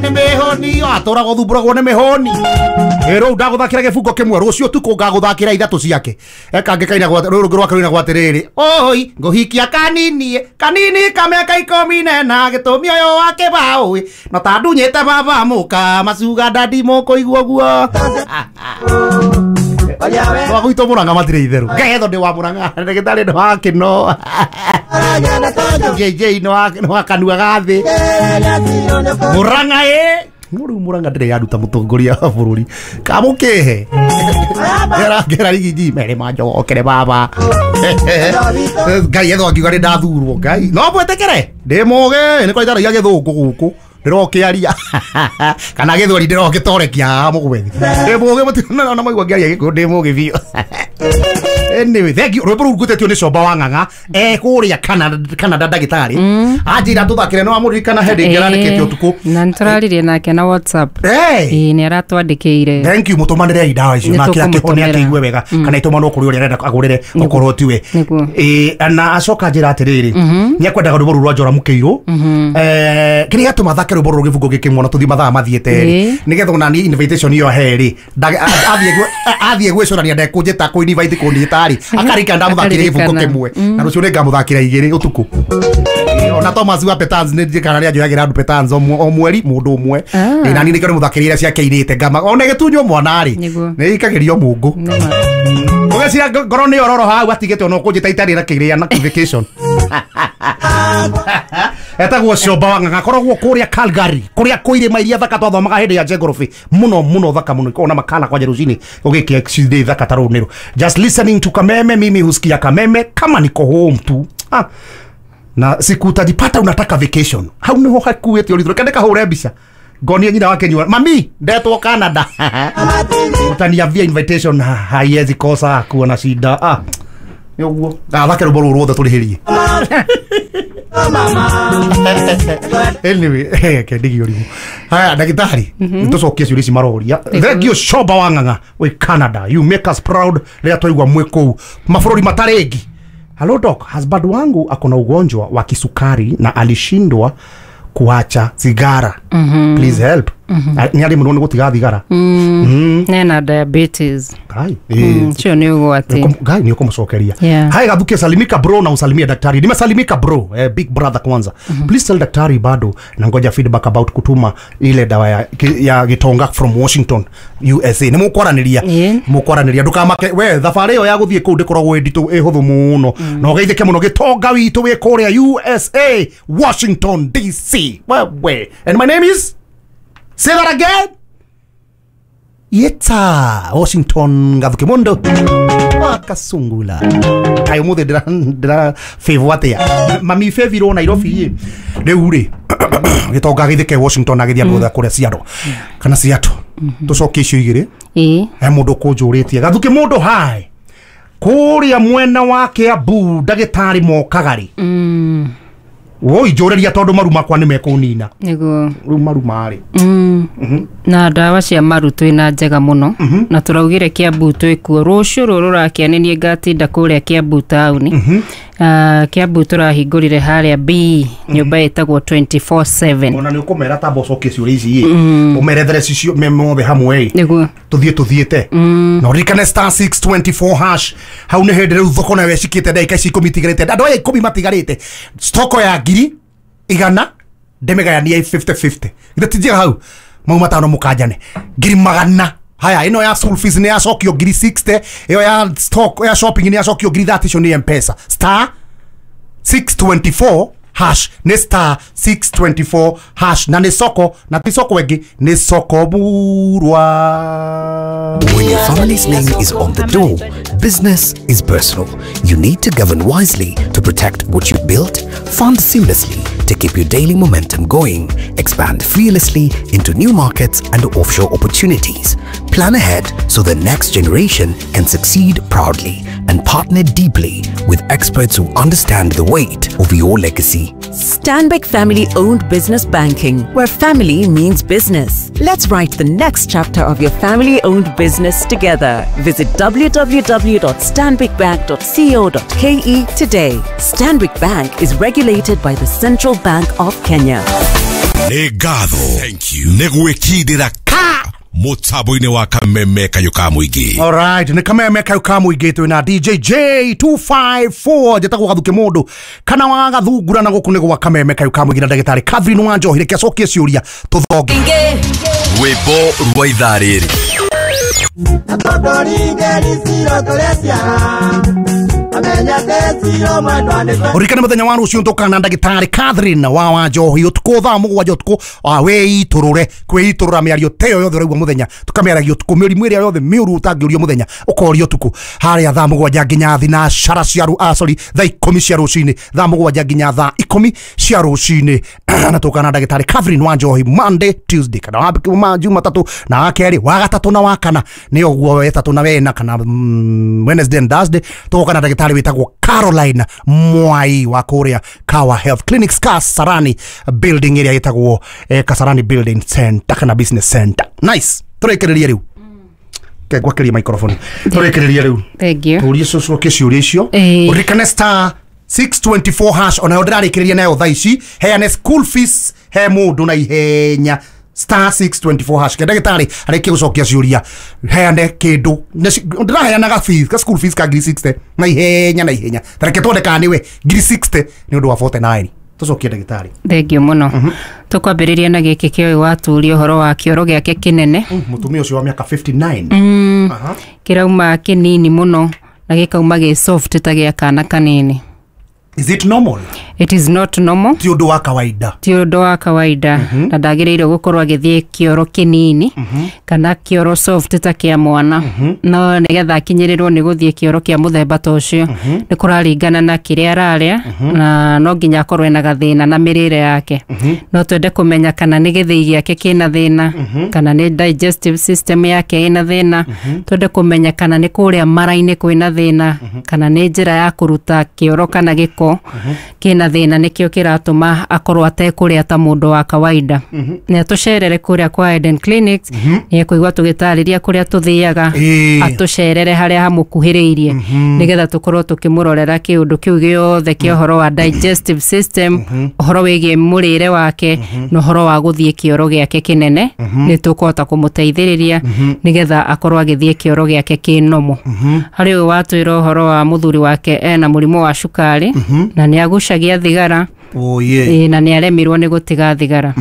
Nĩ mĩhũni atũraga ũthumbũragwo nĩ mĩhũni ĩ rĩu ndagũthakĩra gĩbungo kĩmwe rũciũ tukũ ngagũthakĩra ithatũ ciake ekangĩ kaina rũrũ rũngĩ rwake rũinagwo atĩrĩrĩ oi ngũhikia kanini kanini ka mĩaka 14 gĩtũmi ũyũ wa kĩbaũ no ta ndunyĩte baba mũka macuga ndandi mũkũigua ũguo Wa gwitũ Mũrang'a matirĩ itherũ ngetho ndĩ wa Mũrang'a ndagĩtarĩ nĩ wa kĩno JJ nĩ wa kanua ga thĩ Mũrang'a ĩ no rĩu Mũrang'a ndĩrĩ yaruta mũtongoria wa bũrũri kamũkĩhe ngera ngera rigiji mere manjokere baba Ngai ethwo angiuga nĩ ndathurwo Ngai no mwĩtĩkĩre ndĩ mũgĩ nĩ kwaitaragia gĩthũngũ gũkũ ndĩrokĩaria kana gĩthweri ndĩrokĩtorekia haha mũgwethi ndĩ mũgĩ mũtirona maigua ngĩaria gĩkũyũ ndĩ mũgĩ biũ. Anyway, thank you. Rwĩmbo rũu ngwĩtetio nĩ Comba wa Ng'ang'a e kũrĩa Canada, Canada ndagĩtarĩ anjĩra tũthakĩre no amũririkana hĩndĩ ĩngĩ arandĩkĩte ũtukũ. Na nĩtũraririe nake na WhatsApp. Hey! Ĩĩ, nĩ aratwandĩkĩire. Thank you, mũtũmanĩrei ndawa icio Nĩ nake akĩhone tũkũmũtũmĩra. akĩigue wega kana itũmanwo kũrĩ ũrĩa arenda agũrĩre okorwo tiwe. Nĩguo. Ĩ na acoka njĩra atĩrĩrĩ nĩ akwendaga rwĩmbo rũu rwa Njora Mũkĩirũ kĩrĩa gĩatũma thake rwĩmbo rũrũ gĩbungo gĩkĩ mwana tũthiĩ mathaa mathiĩte rĩ Ĩĩ. nĩgetha ona niĩ invitation ĩyo he rĩ athiĩ gwĩcũrania ndekũnjĩta kũ invite kũnjĩta rĩ akarika ndamũthakĩre gĩbungo Akaririkana. kĩmwe na rũciũ nĩngamũthakĩra igĩrĩ ũtukũ. Ona Thomas wa Petans nĩ njĩkana nĩ anjoyagĩra andũ Petans o mweri mũndũ ũmwe. Ah. Ĩ, na niĩ nĩkĩo ndĩmũthakĩire iria ciake irĩte ngama ona gĩtunywo mwana rĩ Nĩguo. nĩ ikagĩrio mũngũ Nĩma. ũgeciria ngoro nĩ ororo hau atigĩte ona ũkũnjĩta itarĩ na kĩrĩa na vacation etagwo Comba wa Ng'ang'a akoragwo kũrĩa Calgary kũrĩa kwĩ irĩma iria thaka twathomaga hĩndĩ ya geography mũno mũno thaka mũno ikoragwo na makala kwanja rũcinĩ ũgĩkia cindĩ thaka ta rũu nĩrũ. Just listening to Kameme, mimi husikia Kameme kama niko home tu ah. Na siku utajipata unataka vacation hau niho hakuĩte ũritũ reke ndĩkahũre mbica ngonie nyina wake nyua mami ndetwo Canada utaniambia invitation haiwezi kosa kuwa na shida ah nĩ ũguo gathake rwĩmbo rũrũ ruothe tũrĩhĩrie. Anyway, kendigi ũrimũ haya ndagĩtarĩ nĩtũcokie ciũria ici maroria. Thank you Comba wa Ng'ang'a wĩ Canada, you make us proud rĩrĩa twaigua mwĩ kũu mabũrũri matarĩngi. Hello doc, husband wangu akona ugonjwa wa kisukari na alishindwa kuacha sigara. Please help. Nĩ arĩ mũno nĩ gũtiga thigara. Nena diabetes. Ngai. Ũcio nĩ ũgwati. Ngai nĩ ũkũmũcokeria. Yeah. Hai Gathuke, salimika bro na usalimie daktari. Nimesalimika bro, big brother kwanza. Please tell daktari bado na ngoja feedback about kutuma ile dawa ya gitonga from Washington USA. Nĩ mũkwaranĩria. Yeah. Mũkwaranĩria ndũkamake we thabarĩ ĩyo ya gũthiĩ kũu ndĩkoragwo ĩ nditũ ĩ hũthũ mũno. Na ũgeithĩke mũno gĩtonga witũ wĩ kũrĩa USA Washington DC. Wewe. And my name is. Say that again. Yeta Washington Gathuke Mundo wakasungula kaĩ ũmũthĩ ndĩra favor atĩa mami favorwo Nairobi ĩ rĩu rĩ gĩtonga gĩthĩke Washington agĩthiĩ andũ othe kũrĩa Seattle kana Seattle tũcokie icio igĩrĩ. Ĩĩ. He mũndũ kũnjũrĩtie Gathuke mũndũ hai kũrĩa mwena wa Kiambu ndagĩtarĩ mokaga rĩ woi njũrĩria tondũ maru makwa nĩ mekũnina. Nĩguo. Rĩu maru marĩ Na ndawa cia maru twĩna njega mũno na tũraugire Kiambu twĩkuo rũciũ rũrũ rũrakia nĩ niĩ ngatinda kũrĩa Kiambu taũni. Kiambu tũrahingũrire harĩa B nyũmba ĩtagwo 24/7. Ona nĩ ũkũmera tamba ũcokie ciũria ici ĩ ũmerethere cicio me mothe hamwe ĩ Nĩguo. Tũthiĩ tũthiĩte na ũririkane star 624 hash hau nĩ hĩndĩ rĩu thoko nayo ĩcikĩte ndagĩka ici 10 itigarĩte andũ aya 10 matigarĩte stoko ya 100,000 ndĩmĩgayanie 50-50 githĩ ti njega hau mau matano mũkanjane 100,000 haya ĩno ya school fees nĩ yacokio 60,000 ĩyo ya stock ya shopping nĩ yacokio 30,000 icio nĩ mpesa star 624 hash nĩ star 624 hash na nĩ soko na ti soko ĩngĩ nĩ soko murwa. When your family's name is on the door, business is personal. You need to govern wisely to protect what you built, fund seamlessly to keep your daily momentum going, expand fearlessly into new markets and offshore opportunities, plan ahead so the next generation can succeed proudly, and partner deeply with experts who understand the weight of your legacy. Stanbic Family Owned Business Banking, where family means business. Let's write the next chapter of your family owned business together. Visit www.stanbicbank.co.ke today. Stanbic Bank is regulated by the Central Bank of Kenya. Nĩ ngatho nĩ gwĩkindĩra ka mũtambo-inĩ wa Kameme Kayũ ka Mũingĩ. Alright, nĩ Kameme Kayũ ka Mũingĩ twĩ na DJ J254 njĩtagwo Gathuke mũndũ kana wa Gathungura na gũkũ nĩ gwa Kameme Kayũ ka Mũingĩ na ndagĩtarĩ Catherine Wanjohi. Reke acokie ciũria tũthonge. Rwĩmbo rwa ithaa rĩrĩ. Ũririkane mũthenya wa rũciũ tũkana ndagĩtarĩ Catherine wa Wanjohi ũtukũ thaa 7 ũtukũ wĩitũrũre kwĩitũrũra mĩario ta ĩyo yothe ũraigua mũthenya tũkamĩaragia ũtukũ mĩrimũ ĩrĩa yothe mĩũru ũtangĩũrio mũthenya ũkorio ũtukũ harĩa thaa 7 nginya thinacara cia sorry thaa 10 cia rũcinĩ thaa 7 nginya thaa 10 cia rũcinĩ na tũkana ndagĩtarĩ Catherine Wanjohi Monday, Tuesday kana Jumatatu na wa kerĩ wa gatatũ na wa kana nĩ ũguo wetatũ na wena kana Wednesday and Thursday tũgũka na ndagĩtarĩ wĩtagwo Caroline Mwai wa kũrĩa Kawa Health Clinics Kasarani building ĩrĩa ĩtagwo Kasarani Building Center kana Business Center. Nice. Tũrĩkĩrĩrie rĩu. Ngwakĩria microphone. Tũrĩkĩrĩrie rĩu. Thank you. Tũrie cocoke ciũria icio. Ũririkane star 624 hash onayo ndĩrarĩkĩrĩria nayo thaa ici heane school fees he mũndũ na ihenya star 624 hash. Ke ndagĩtarĩ arĩkie gũcokia ciũria heane kĩndũ ndĩraheanaga fees ka school fees ka ngiri 60 na ihenya na ihenya tareke tuone kana nĩwe ngiri 60 nĩ ũndũ wa 49. Tũcokie ndagĩtarĩ. Thank you mũno. Tũkwambĩrĩria na gĩkĩ kĩoĩ waturia ũhoro wa kĩoro gĩake kĩnene. Mũtumia ũcio wa mĩaka 59 kĩrauma kĩnini mũno na gĩkauma gĩ soft ta gĩa kana kanini. Is it normal? It is not normal. Ti ũndũ wa kawaida. Ti ũndũ wa kawaida. Na ndagĩrĩirwo gũkorwo agĩthiĩ kĩoro kĩnini kana kĩoro soft ta kĩa mwana. No nĩgetha akinyĩrĩrwo nĩ gũthiĩ kĩoro kĩa mũthemba ta ũcio nĩ kũraringana na kĩrĩa ararĩa na no nginya akorwo ena gathĩna na mĩrĩre yake. No twende kũmenya kana nĩ gĩthĩi gĩake kĩna thĩna kana nĩ digestive system yake ĩna thĩna. Twende kũmenya kana nĩ kũrĩa mara-inĩ kwĩna thĩna kana nĩ njĩra ya kũruta kĩoro kana gĩko kĩna thĩna nĩkĩo kĩratũma akorwo atekũrĩa ta mũndũ wa kawaida. Nĩ atũcerere kũrĩa kwa Eden Clinics nĩ ekũigua tũgĩtarĩria kũrĩa tũthiaga atũcerere harĩa hamũkuhĩrĩirie nĩgetha tũkorwo tũkĩmũrorera kĩũndũ kĩu gĩothe kĩa ũhoro wa digestive system ũhoro wĩgiĩ mũrĩre wake na ũhoro wa gũthiĩ kĩoro gĩake kĩnene nĩ tũkũhota kũmũteithĩrĩria nĩgetha akorwo agĩthiĩ kĩoro gĩake kĩnomo. Harĩ ũyũ watwĩra ũhoro wa mũthuri wake ena mũrimũ wa cukari na nĩ agucagia thigara. Oh yeah. Na nĩ aremirwo nĩ gũtiga thigara.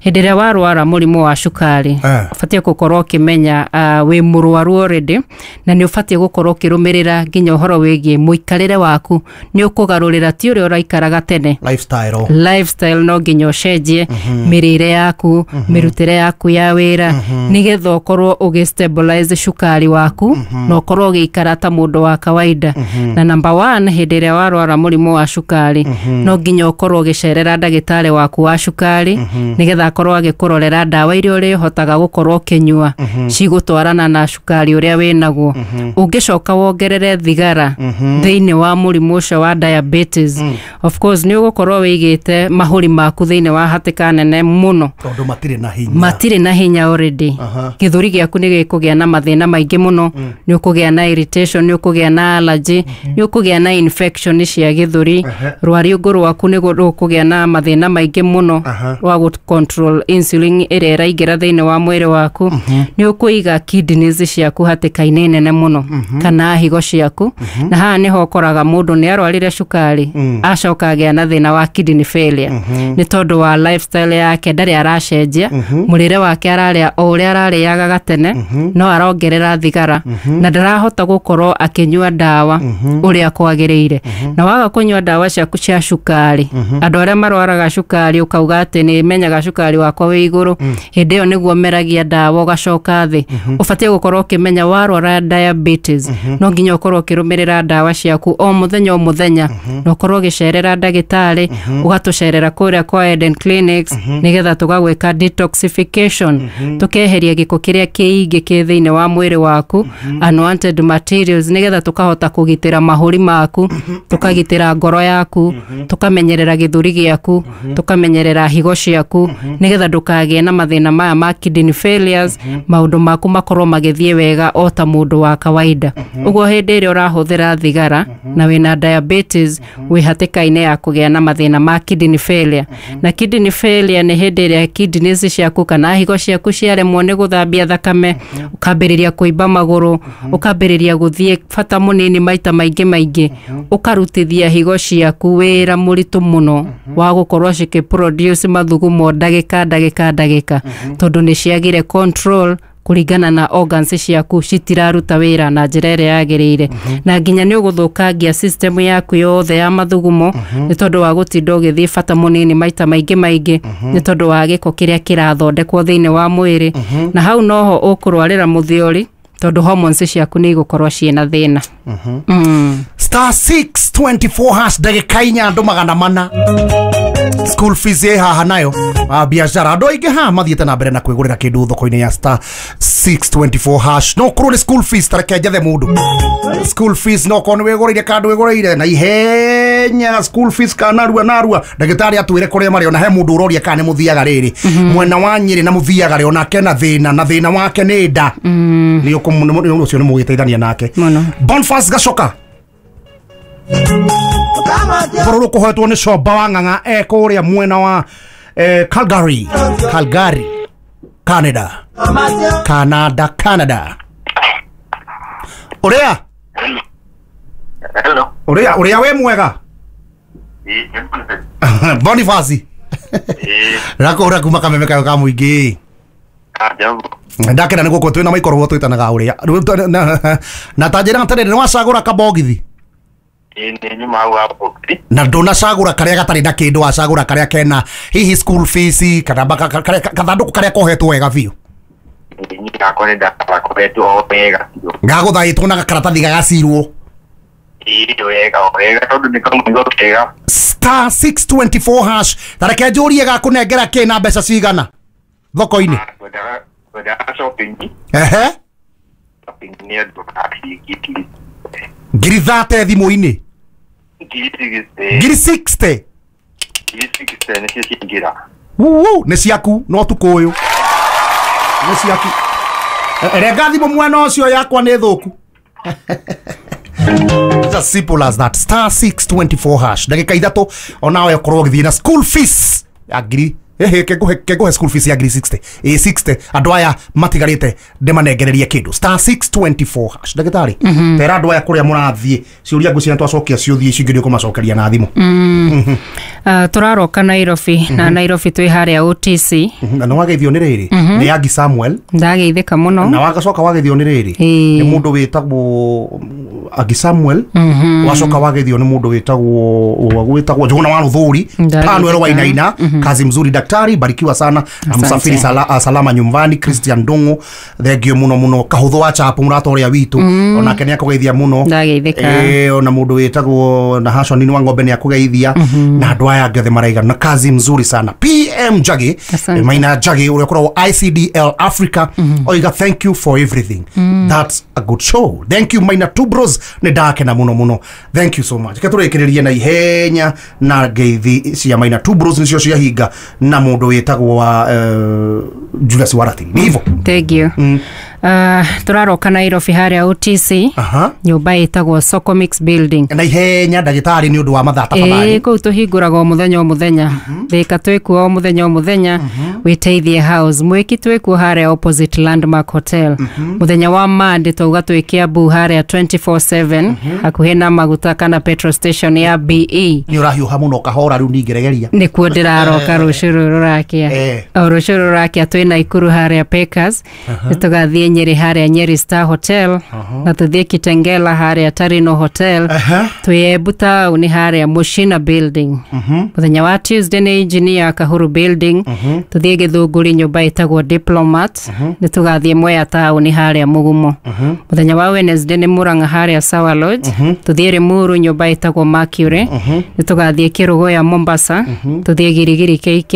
Hĩndĩ ĩrĩa warwara mũrimũ wa cukari ũbatiĩ gũkorwo ũkĩmenya wĩ mũrwaru already na nĩ ũbatiĩ gũkorwo ũkĩrũmĩrĩra nginya ũhoro wĩgiĩ mũikarĩre waku nĩ ũkũgarũrĩra ti ũrĩa ũraikaraga tene. Lifestyle no nginya ũcenjie mĩrĩre yaku mĩrutĩre yaku ya wĩra nĩgetha ũkorwo ũgĩ stabilize cukari waku na ũkorwo ũgĩikara ta mũndũ wa kawaida. Na number 1 hĩndĩ ĩrĩa warwara mũrimũ wa cukari no nginya ũkorwo ũgĩcerera ndagĩtarĩ waku wa cukari nĩgetha akorwo agĩkũrorera ndawa iria ũrĩhotaga gũkorwo ũkĩnyua cigũtwarana na cukari ũrĩa wĩnaguo. Ũngĩcoka wongerere thigara thĩinĩ wa mũrimũ ũcio wa diabetes of course nĩ ũgũkorwo wĩigĩte mahũri maku thĩinĩ wa hatĩka nene mũno tondũ matirĩ na hinya. Matirĩ na hinya already. Gĩthũri gĩaku nĩ gĩkũgĩa na mathĩna maingĩ mũno nĩ ũkũgĩa na irritation nĩ ũkũgĩa na allergy nĩ ũkũgĩa na infection cia gĩthũri rwariũngũ rwaku nĩ rũkũgĩa na mathĩna maingĩ mũno rwa gũ control insulin ĩrĩa ĩraingĩra thĩinĩ wa mwĩrĩ waku nĩ ũkũiga kidneys ciaku hatĩka-inĩ nene mũno kana higo ciaku na haha nĩho ũkoraga mũndũ nĩ arwarire cukari acoka agĩa na thĩna wa kidney failure nĩ tondũ wa lifestyle yake ndarĩ aracenjia mũrĩre wake ararĩa o ũrĩa ararĩaga gatene no arongerera thigara na ndarahota gũkorwo akĩnyua ndawa ũrĩa kwagĩrĩire. Na waga kũnyua ndawa ciaku cia cukari andũ arĩa marwaraga cukari ũkauga atĩ nĩ menyaga cukari wakwa wĩ igũrũ hĩndĩ ĩyo nĩguo meragia ndawa ũgacoka thĩ. Ũbatiĩ gũkorwo ũkĩmenya warwara diabetes no nginya ũkorwo ũkĩrũmĩrĩra ndawa ciaku o mũthenya o mũthenya na ũkorwo ũgĩcerera ndagĩtarĩ ũgatũcerera kũrĩa kwa Eden Clinics nĩgetha tũgagwĩka detoxification tũkeheria gĩko kĩrĩa kĩingĩ kĩ thĩinĩ wa mwĩrĩ waku unwanted materials nĩgetha tũkahota kũgitĩra mahũri maku tũkagitĩra ngoro yaku tũkamenyerera gĩthũri gĩaku, tũkamenyerera higo ciaku nĩgetha ndũkagĩe na mathĩna maya ma kidney failures, maũndũ maku makorwo magĩthiĩ wega o ta mũndũ wa kawaida. Ũguo hĩndĩ ĩrĩa ũrahũthĩra thigara na wĩna diabetes, wĩ hatĩka-inĩ ya kũgĩa na mathĩna ma kidney failure. Na kidney failure nĩ hĩndĩ ĩrĩa kidneys ciaku kana higo ciaku ciaremwo nĩ gũthambia thakame, ũkambĩrĩria kũimba magũrũ, ũkambĩrĩria gũthiĩ bata mũnini maita maingĩ maingĩ, ũkarutithia higo ciaku wĩra mũritũ mũno wa gũkorwo cikĩproduce mathugumo ndagĩka ndagĩka ndagĩka, tondũ nĩ ciagire control kũringana na organs ciaku citiraruta wĩra na njĩra ĩrĩa yagĩrĩire. Na nginya nĩ ũgũthũkangia system yaku yothe ya mathugumo nĩ tondũ wa gũtinda ũgĩthiĩ bata mũnini maita maingĩ maingĩ, nĩ tondũ wa gĩko kĩrĩa kĩrathondekwo thĩinĩ wa mwĩrĩ. Na hau noho ũkũrwarĩra mũthiori, tondũ hormones ciaku nĩ igũkorwo ciĩna thĩna. Star 624 hash, ndagĩka inya andũ magana mana. School fees ĩ haha nayo biacara andũ aingĩ haha mathiĩte na mbere na kwĩgũrĩra kĩndũ thoko-inĩ ya star 624 hash. No korwo nĩ school fees, tareke njethe mũndũ school fees, no korwo nĩ wĩgũrĩire kandũ wĩgũrĩire na ihenya school fees kana narua narua, ndagĩtarĩ atwĩre kũrĩa marĩ. Ona he mũndũ ũroria kana nĩ mũthiaga rĩrĩ mwena wa Nyĩrĩ na mũthiaga rĩ, onake na thĩna, na thĩna wake nĩ nda, nĩ ũcio nĩ mũgĩteithania nake. Bonfas Gacoka bũrũrũ kũhoetwo nĩ Comba wa Ng'ang'a e kũrĩa mwena wa Calgary, Calgary, Canada, Canada, Canada. Ũrĩa? Hello. Ũrĩa, ũrĩa wĩ mwega? Boniface. Rakũhũra kuma Kameme kayo ka mũingĩ. Ndakena nĩ gũkũ twĩna maikorwo twĩtanaga ũrĩa. Na ta njĩra atĩrĩrĩ, nĩ wacagũra kabogithi? Na ndũnacagũra karĩa gatarĩ na kĩndũ, wacagũra karĩa kena hihi school fees kana kathandũkũ karĩa kohetwo wega biũ. Gagũthaĩtwo na gakaratathi gagacirwo. Star 624 hash, tareke njũrie gakũnengera kĩ na mbeca cigana thoko-inĩ? Ehe. Ngiri 30 thimũ-inĩ. Ngiri 60. Nĩ ciaku no tukũ ũyũ. Nĩ ciaku. Renga thimũ mwena ũcio yakwa nĩ thũku. It's as simple as that. Star 624 hash. Ndagĩka ithatũ onawe ũkorwo ũgĩthiĩ na school fees ya ngiri kengũhe school fees ya ngiri 60. Ĩ 60 andũ aya matigarĩte ndĩmanengererie kĩndũ. Star 624 hash. Ndagĩtarĩ, tera andũ aya kũrĩa mũrathiĩ ciũria ngwĩciria twacokia ciũthiĩ icio ingĩ nĩ ũkũmacokeria na thimũ. Tũraroka Nairobi, na Nairobi twĩ harĩa OTC. Na nĩ wageithio nĩ rĩrĩ nĩ Agi Samuel. Ndageithĩka mũno. Na wagacoka wageithio nĩ rĩrĩ nĩ mũndũ wĩtagwo Agi Samuel. Wacoka wageithio nĩ mũndũ wĩtagwo Njũgũna wa Rũthũri Panuel Wainaina. Kazi mzuri daktari, barikiwa sana na msafiri salama nyumbani. Christian Ndung'u, thengio muno muno. Kahũthũ wa Chapo mũrata ũrĩa witũ onake nĩ akũgeithia mũno. Ona mũndũ wĩtagwo na Hashoni wa Ng'ombe nĩ akũgeithia, na andũ aya angĩ othe maraigana na kazi mzuri sana. PM Njagi, Maina Njagi ũrĩa ũkoragwo ICDL Africa, oiga thank you for everything. That's a good show. Thank you Maina Two Bros, nĩ ndakena mũno mũno. Thank you so much. Reke tũrĩkĩrĩrie na ihenya na ngeithi cia Maina Two Bros nĩcio ciahinga na mũndũ wĩtagwo wa Julius Waratiri. Nĩ hivyo. Thank you. Tũraroka Nairobi harĩa OTC, nyũmba ĩtagwo Soko Mix Building. Na ihenya ndagĩtarĩ nĩ ũndũ wa mathaa tafadhali. Kũu tũhingũraga o mũthenya o mũthenya. Thika twĩkuo o mũthenya o mũthenya. Wĩteithie House. Mwĩki twĩkuo harĩa opposite Landmark Hotel. Mũthenya wa Monday twauga twĩ Kiambu harĩa 24/7 hakuhĩ na maguta kana petrol station ya BE. Nĩ ũrahiũha mũno kahora rĩu ningĩregeria. Nĩkuo ndĩraroka rũciũ rũrũ rũrakĩa. O rũciũ rũrũ rũrakĩa twĩ Naikuru harĩa Packers. Nĩ tũgathiĩ Nyeri harĩa Nyeri Star Hotel, na tũthiĩ Kitengela harĩa Tarino Hotel. Twĩ Embu taũni harĩa Mushina Building. Mũthenya wa Tuesday nĩ Engineer Kahuru Building. Tũthiĩ Gĩthũngũri nyũmba ĩtagwo Diplomat. Nĩ tũgathiĩ Mwea taũni harĩa Mũgumo. Mũthenya wa Wednesday nĩ Murang'a harĩa Sawa Lodge. Tũthiĩ Limuru nyũmba ĩtagwo Mercury. Nĩ tũgathiĩ Kĩrũgũya Mombasa. Tũthiĩ Girigiri KK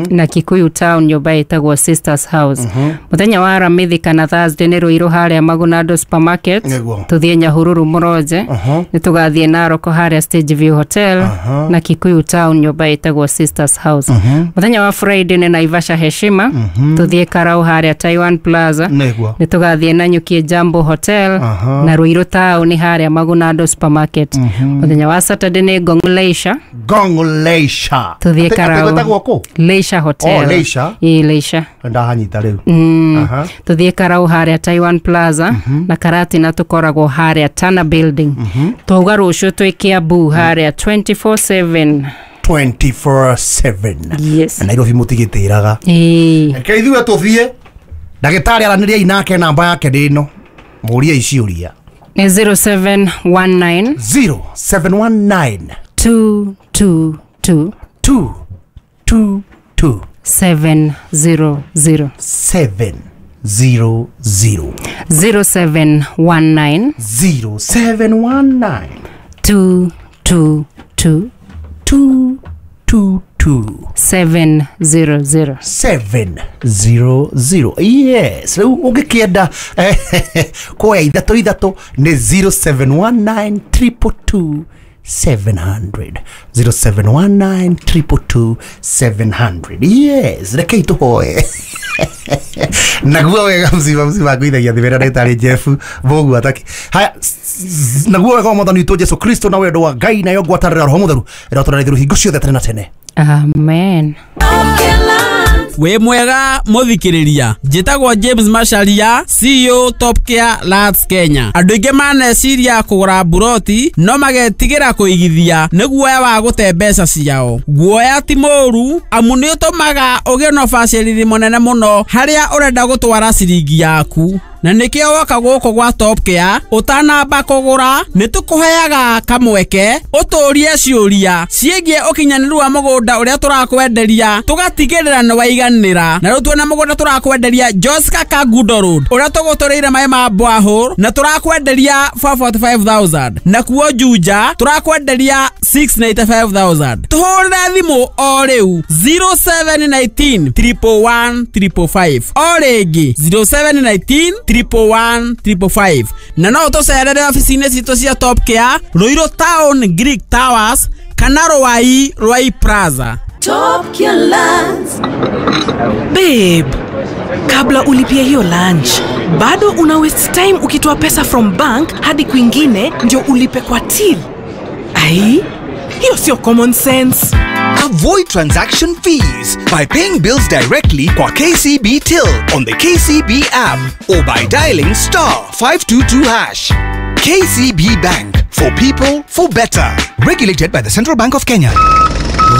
na Kikuyu Town nyũmba ĩtagwo Sisters House. Mũthenya wa Aramithi kana na Thursday nĩ Ruiru harĩa Magunando supermarket. Nĩguo. Tũthiĩ Nyahururu Mũronje. Nĩ tũgathiĩ Narok harĩa Stage View Hotel na Kikuyu Town nyũmba ĩtagwo Sisters House. Mũthenya wa Friday nĩ Naivasha Heshima. Tũthiĩ Karau harĩa Taiwan Plaza. Nĩguo. Nĩ tũgathiĩ Nanyuki Jambo Hotel na Ruiru Town harĩa Magunando supermarket. Mũthenya wa Saturday nĩ Ngong Leisure. Ngong Leisure. Tũthiĩ Karau. Atĩ kũ? Leisure Hotel. Oh, Leisure. Ĩĩ, Leisure. Ndahanyita rĩu. Tuthiĩ Karau harĩa Taiwan Plaza na Karatina tũkoragwo harĩa Tana Building. Twauga rũciũ twĩ Kiambu harĩa 24/7. 24/7. Yes. Nairobi mũtigĩtĩraga. Ĩĩ. Reke ithuĩ tũthiĩ. Ndagĩtarĩ aranĩriai nake namba yake nĩ ĩno. Mũriei ciũria. Nĩ 0719 0719 222 222 700. 700. 0719 0719 222 222 700. 700. Yes, rĩu ũngĩkĩenda kuoya ithatũ ithatũ nĩ 0719 222 700. 0719 222 700. Yes, rekei tũhoe. Naguo wega mzima mzima ngũithagia thĩ wĩra ndagĩtarĩ Jeff Mũgua taki. Haya, naguo wega wa mwathani witũ Jesu Kristo na wendo wa Ngai nayo ngwatanĩro ya Roho Mũtheru ĩrotũra ithuĩ hingo ciothe tene na tene. Amen. Wĩ mwega mũthikĩrĩria, njĩtagwo James Macharia, CEO Top Care Lands Kenya. Andũ aingĩ maneciria kũgũra mburoti no magetigĩra kũigithia nĩ guoya wa gũte mbeca ciao. Guoya ti mũũru amu nĩ ũtũmaga ũgĩe na ũbacĩrĩri mũnene mũno harĩa ũrenda gũtwara ciringi yaku. Na nĩkĩo woka gũkũ gwa Top Care ũtanamba kũgũra nĩ tũkũheaga kamweke ũtũrie ciũria ciĩgiĩ ũkinyanĩru wa mũgũnda ũrĩa tũrakwenderia tũgatigĩrĩra nĩ waiganĩra. Na rĩu tuona mũgũnda tũrakwenderia Joska Kangundo Road ũrĩa tũgũtũrĩire maĩ ma borehole na tũrakwenderia 445,000, nakuo Juja tũrakwenderia 695,000. Tũhũrĩre thimũ o rĩu 0719 111 555, o rĩngĩ 0719 111 555, na no ũtũcerere obici-inĩ citũ cia Top Care Ruiru Town Greek Towers kana Ruai Ruai Plaza. Top Care Lands. Babe, kabla ulipie hiyo lunch, bado una waste time ukitoa pesa from bank hadi kwingine ndio ulipe kwa till. Ai, hiyo sio common sense. Avoid transaction fees by paying bills directly kwa KCB Till on the KCB app or by dialing star 522#. KCB Bank, for people, for better. Regulated by the Central Bank of Kenya.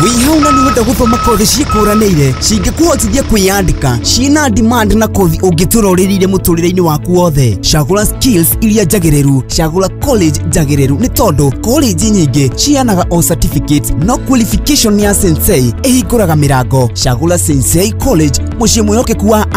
Wĩhauna nĩ wenda gũthoma kothi ciĩkũranĩire cingĩkũhotithia kwĩyandĩka ciĩna demand na kothi ũngĩtũra ũrĩrĩire mũtũrĩre-inĩ waku wothe. Cagũra skills iria njagĩrĩru, cagũra college njagĩrĩru nĩ tondũ college nyingĩ ciheanaga o certificate no qualification ya Sensei ĩhingũraga mĩrango. Cagũra Sensei College, mũciĩ mwĩhokeku wa